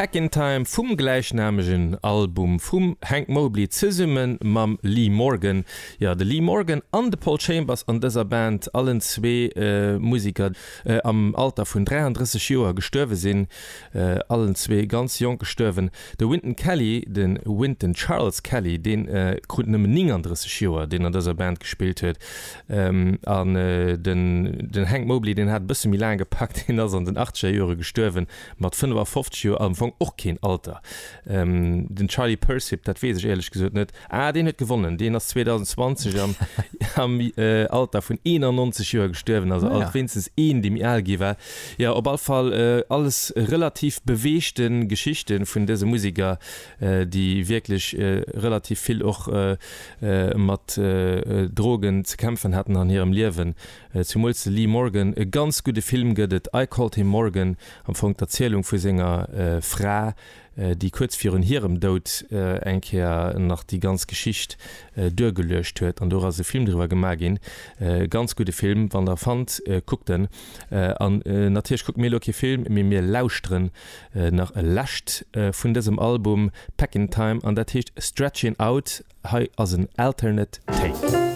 Packin' Time vum gläichnamegen Album vum Hank Mobley zesumme mam Lee Morgan. Jo, de Lee Morgan an de Paul Chambers an dëser Band, allen zwee Museker am Alter vun 33 Joer gestuerwe sinn, allen zwee ganz jonk gestuerwen. De Wynton Kelly, de Wynton Charles Kelly, dee krut nëmmen 39 Joer, deen an dëser Band gespillt huet. An den Hank Mobley, deen hat e bësse méi laang gepackt, deen ass an den achtzeger Jore gestuerwen, mat 55 Joer, am Fong och keen Alter. Den Charlie Persip, dat weess ech éierlech gesot net, ah deen huet gewonnen, deen ass 2020 am am Alter vun 91 Joer gestuerwen, also alt wéinstens een, dee méi al gi war. Jo, op all Fall alles relativ beweegte Geschichte vun dëse Museker, déi wierklech relativ vill och mat Drogen ze kämpfen haten an hirem Liewen. Zumools de Lee Morgan. E ganz gudde Film gëtt et, I Called Him Morgan, am Fong d'Erzielung vu senger Fra, déi kuerz virun hirem Doud eng Kéier nach déi ganz Geschicht duergeluecht huet. An do ass e Film driwwer gemaach ginn. E ganz gudde Film, wann der fannt, kuckt en. An natierlech kucke mir elo kee Film, mee mir lauschteren nach e lescht vun dësem Album Packin' Time an dat heescht Stretchin' Out. Hei ass en Alternate Take.